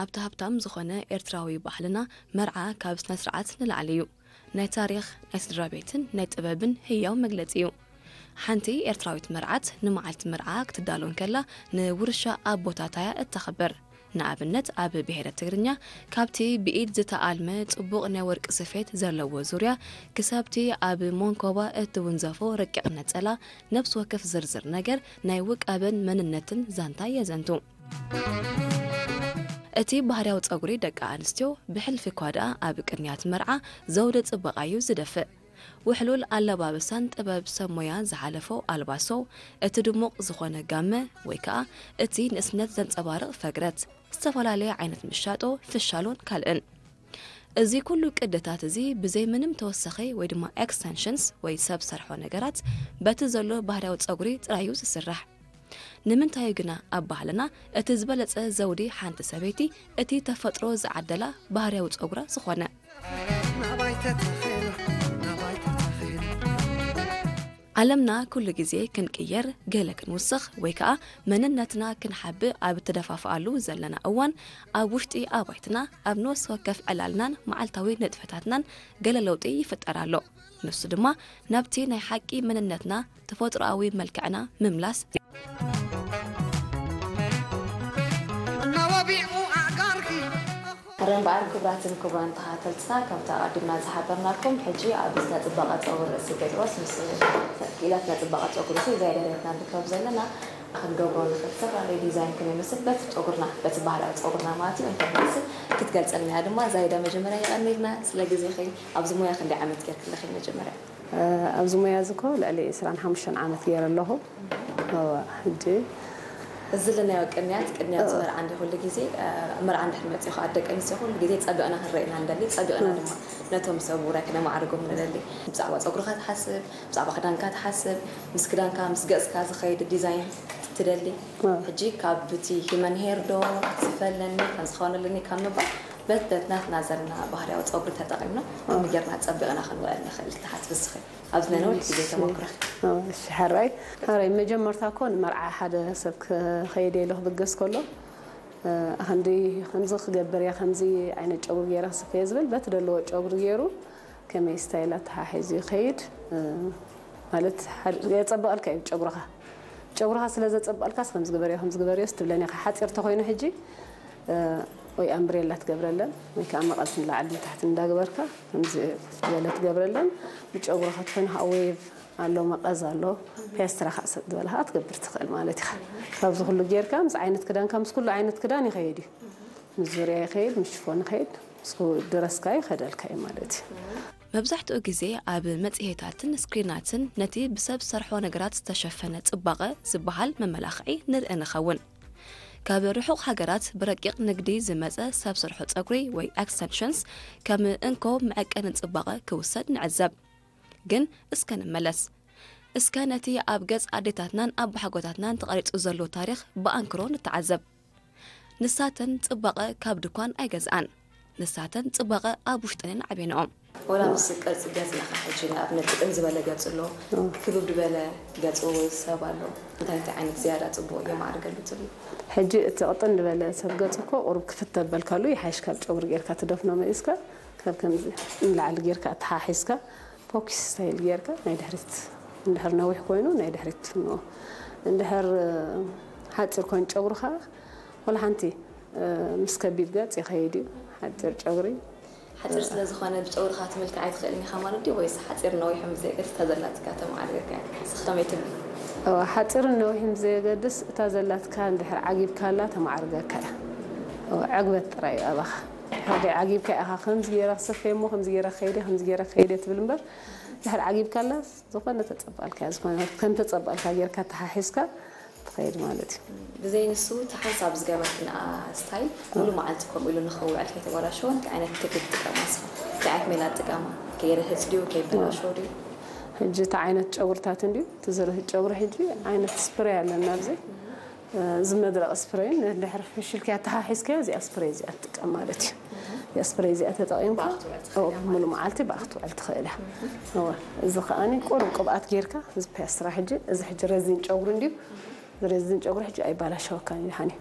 ኣብቲ ሃብታም ዝኾነ ኤርትራዊ ባህልና፣ መርዓ ካብ ስነ ስርዓት ንላዕሊ እዩ። ናይ ታሪኽ፣ ናይ ስድራ ቤትን ናይ ጥበብን ህያው መግለጺ እዩ። ሓንቲ ኤርትራዊት መርዓት ንመዓልቲ መርዓ ክትዳሎ እንከላ፣ ንውርሻ ኣቦታታ እያ እተኽብር። ንኣብነት፣ ኣብ ብሄረ ትግርኛ፣ ካብቲ ብኢድ ዝተኣልመ ጽቡቕ ናይ ወርቂ ስፌት ዘለዎ ዙርያ፣ ክሳብቲ ኣብ መንኮባ እትውንዘፎ ረቂቕ ነጸላ፣ ነፍሲ ወከፍ ዝርዝር ነገር ናይ ውቃበን መንነትን ዛንታ የዘንቱ። እቲ ባህርያዊ ጸጉሪ ደቂ ኣንስትዮ፣ ብሕልፊ እኳ ደኣ ኣብ ቅንያት መርዓ ዘውዲ ጽባቐ እዩ ዝደፍእ። ውሕሉል ኣለባብሳን ጥበብ ሰብ ሞያ ዝሓለፎ ኣልባሶ፣ እቲ ድሙቕ ዝኾነ ጋመ ወይ ከኣ እቲ ንእስነት ዘንጸባርቕ ፈግረት፣ ዝተፈላለየ ዓይነት ምሻጦ፣ ፍሻሎን ካልእን። እዚ ኩሉ ቅድታት እዚ ብዘይ ምንም ተወሳኺ ወይ ድማ ኤክስተንሽንስ ወይ ሰብ ሰርሖ ነገራት፣ በቲ ዘሎ ባህርያዊ ጸጉሪ ጥራይ እዩ ዝስራሕ። ንምንታይ እዩ ግና ኣብ ባህልና እቲ ዝበለጸ ዘውዲ ሓንቲ ሰበይቲ እቲ ተፈጥሮ ዝዓደላ ባህርያዊ ጸጉራ ዝኾነ? ዓለምና ኩሉ ግዜ ክንቅየር፣ ገለ ክንውስኽ ወይ ከኣ መንነትና ክንሓብእ ኣብ እተደፋፍኣሉ ዘለና እዋን፣ ኣብ ውሽጢ ኣባይትና፣ ኣብ ነፍሲ ወከፍ ዕላልናን መዓልታዊ ንጥፈታትናን ገለ ለውጢ ይፍጠር ኣሎ። ንሱ ድማ ናብቲ ናይ ሓቂ መንነትና፣ ተፈጥሮኣዊ መልክዕና ምምላስ። እናወቢቑ ኣእጋርኪ። ሕረ እምበኣር ክቡራትን ክቡራን ተኸታተልትና፣ ከምቲ ኣቐዲምና ዝሓበርናኩም፣ ሕጂ ኣብ ስነ ጽባቐ ጸጉሪ ርእሲ ጴጥሮስ ምስ ክኢላት ስነ ጽባቐ ጸጉሪ ርእሲ ዛይዳ ዳዊትና ንርከብ ዘለና፣ ክንገብሮ ንኽእል ዝተፈላለዩ ዲዛይን ከመይ ይመስል በቲ ጸጉርና፣ በቲ ባህላዊ ጸጉርና ማለት እዩ፣ እንታይ ይመስል ክትገልጸልና እያ ድማ። ዛይዳ፣ መጀመርያ የቐንየልና ስለ ግዜኺ። ኣብዚ ሞያ ክንደይ ዓመት ጌርኪ ኣለኺ መጀመርያ? እ፣ ኣብዚ ሞያ እዚ እኮ ልዕሊ ዕስራን ሓሙሽተን ዓመት ገይረ ኣለኹ። እወ፣ ሕጂ እዚ ለናዮ ቅንያት፣ ቅንያት እ። መርዓ እንዲ ኩሉ ግዜ፣ እ፣ መርዓ እንድሕር መጺኡ ከዓ ደቂ ኣንስትዮ ኩሉ ግዜ ጸቢቕና ክንረአና ንደሊ፣ ጸቢቕና እ። ድማ ነቶም ሰብ ውራይ ክነማዕርጎም ንደሊ። ብዛዕባ ጸጉርኻ ትሓስብ፣ ብዛዕባ ክዳንካ ትሓስብ፣ ምስ ክዳንካ፣ ምስ ገጽካ ዝኸይድ ዲዛይን ትደሊ። እ። ሕጂ ካብ ብቲ ሂመን ሄር ዶ ዝፈለኒ፣ ከም ዝኾነልኒ ካብ ምባል፣ በት-፣ በት ናትና ዘለና ባህርያዊ ጸጉሪ ተጠቒምና፣ እ። ከመይ ጌርና ጸቢቕና ክንውዕል ንኽእል ትሓስቢ ንስኺ? ኣብዚ ናይ ነዊሕ ግዜ እሺ። ተመኩሮኺ። እ፣ እሺ፣ ሕራይ። ሕራይ፣ መጀመርታ እኮ ንመርዓ ሓደ ሰብ ክኸይድ ኢሉ ክብገስ ከሎ፣ እ፣ ክንዲ፣ ከምዚ ክገብር እየ፣ ከምዚ ዓይነት ጨጉሪ ገይረ ክስፈ እየ ዝብል፣ በቲ ደለዎ ጨጉሪ ገይሩ፣ ከመይ ስታይል ኣተሓሒዙ ይኸይድ፣ እ፣ ማለት፣ ሓደ፣ የጸብቐልካ እዩ ጨጉርኻ። ጨጉርኻ ስለ ዘጸብቐልካስ፣ ከምዚ ግበርዮ፣ ከምዚ ግበርዮስ ትብለን ኢኻ። ሓጺር ተኾይኑ ሕጂ፣ እ፣ ወይ ኣምብሬላ ትገብረለን፣ ወይ ከኣ መቐስ ንላዕሊ ንታሕቲ እንዳግበርካ፣ ከምዚ ዝበለ ትገብረለን። ብጨጉርኻ ተኾይኑ ከኣ ዌቭ ኣሎ፣ መቐዝ ኣሎ፣ ፔስትራ ከኣ ሰብ ዝበለ ከኣ ትገብር ትኽእል ማለት ኢኻ። ካብዚ ኩሉ ጌርካ፣ ምስ ዓይነት ክዳንካ፣ ምስ ኩሉ ዓይነት ክዳን ይኸይድ እዩ። ምስ ዙርያ ይኸይድ፣ ምስ ሽፎን ይኸይድ፣ ምስ ኩ-፣ ድረስካ ይኸደልካ እዩ ማለት እዩ። መብዛሕትኡ ግዜ ኣብ መጽሔታትን ስክሪናትን ነቲ ብሰብ ሰርሖ ነገራት ዝተሸፈነ ጽባቐ ዝበሃል መመላኽዒ ንርኢ ንኸውን። ካብ ርሑቕ ሃገራት ብረቂቕ ንግዲ ዝመጸ ሰብ ሰርሖ ጸጉሪ ወይ ኤክስተንሽንስ ከም እንኮ መዐቀኒ ጽባቐ ክውሰድ ንዕዘብ። ግን እስከ ንመለስ። እስከ ነቲ ኣብ ገጽ ኣዴታትናን ኣቦሓጎታትናን ተቐሪጹ ዘሎ ታሪኽ ብኣንክሮ ንተዓዘብ። ንሳተን ጽባቐ ካብ ድኳን ኣይገዝኣን። ንሳተን ጽባቐ ኣብ ውሽጠን እየን ዓብየንኦም። ወላ ምስ ቅርጺ ገጽና ኸዓ ሕጂ ንኣብነት ጥጥን ዝበለ ገጽ ኣሎ፣ እ። ክብብ ዝበለ ገጽ ሰብ ኣሎ። እንታይ እንታይ ዓይነት ዝያዳ ጽቡቕ የማዕርገሉ ትብሉ? ሕጂ እቲ ቅጥን ዝበለ ሰብ ገጽ እኮ ቁሩብ ክፍት ተበልካሉ ይሓይሽ፣ ካብ ጨጉሪ ጌርካ ትደፍኖ መሊስካ፣ ካብ ከምዚ ንላዕሊ ጌርካ ኣተሓሒዝካ፣ ፖኪስ ስታይል ጌርካ ናይ ድሕሪት፣ እንድሕር ነዊሕ ኮይኑ ናይ ድሕሪት ትፍንዎ። እንድሕር፣ እ፣ ሓጺር ኮይኑ ጨጉርኻ፣ ወላ ሓንቲ፣ እ፣ ምስ ከቢድ ገጽ ይኸይድ እዩ፣ ሓጺር ጨጉሪ። ሓጺር ስለ ዝኾነ ብጨጉርኻ ትምልክዕ ኣይትኽእልን ኢኻ ማለት ድዩ? ወይስ ሓጺር ነዊሕን ብዘየገድስ እታ ዘላትካ ተማዕርገካ እያ? ንስኺ ከመይ ትብሊ? እወ፣ ሓጺርን ነዊሕን ብዘየገድስ እታ ዘላትካ እንድሕር ዓጊብካላ ተማዕርገካ እያ። እወ፣ ዕግበት ጥራይ እዩ ኣባኻ። ሕርዲ ዓጊብካ ኢኻ፣ ከምዚ ገይረ ክሰፍየ እሞ ከምዚ ገይረ ክኸይደ፣ ከምዚ ገይረ ክኸይደ ትብል እምበር፣ ድሕር ዓጊብካላ ዝኾነ ተጸባልካ፣ ዝኾነ ከም ተጸባልካ ጌርካ ተሓሒዝካ ትኸይድ ማለት እዩ። ብዘይ ንሱ፣ እቲ ሓንሳብ ዝገበርክንኣ ስታይል፣ ሙሉ መዓልቲ ከምኡ ኢሉ ንኽውዕል ከይተበላሸወ፣ እንታይ ዓይነት ቴክኒክ ትጥቀማ ንስኺ? እንታይ ዓይነት ሜላ ትጥቀማ? ከይርህጽ ድዩ? ከይበላሸው ድዩ? ሕጂ እቲ ዓይነት ጨጉርታት እንድዩ፣ እቲ ዝርህጽ ጨጉሪ ሕጂ ዓይነት ስፕሬይ ኣለና ኣብዚ። እዚ መድረቕ ስፕሬይን እንድሕር ፍሽልኪ ኣተሓሒዝካዮ፣ እዚኣ ስፕሬይ እዚኣ ትጥቀም ማለት እዩ። እዚኣ ስፕሬይ እዚኣ ተጠቒምካ፣ ብኣኽ ትውዕል ትኽእል እያ ሙሉ ማለት እዩ። መዓልቲ ብኣኽ ትውዕል ትኽእል እያ። እወ፣ እዚ ከኣኒ ቁሩብ ቅብኣት ጌርካ፣ እዚ ፔስትራ ሕጂ፣ እዚ ሕጂ ረዚን ጨጉሪ እንድዩ፣ ረዚን ጨጉሪ ሕጂ ኣይባላሸወካን እዩ፣ ሓኒ።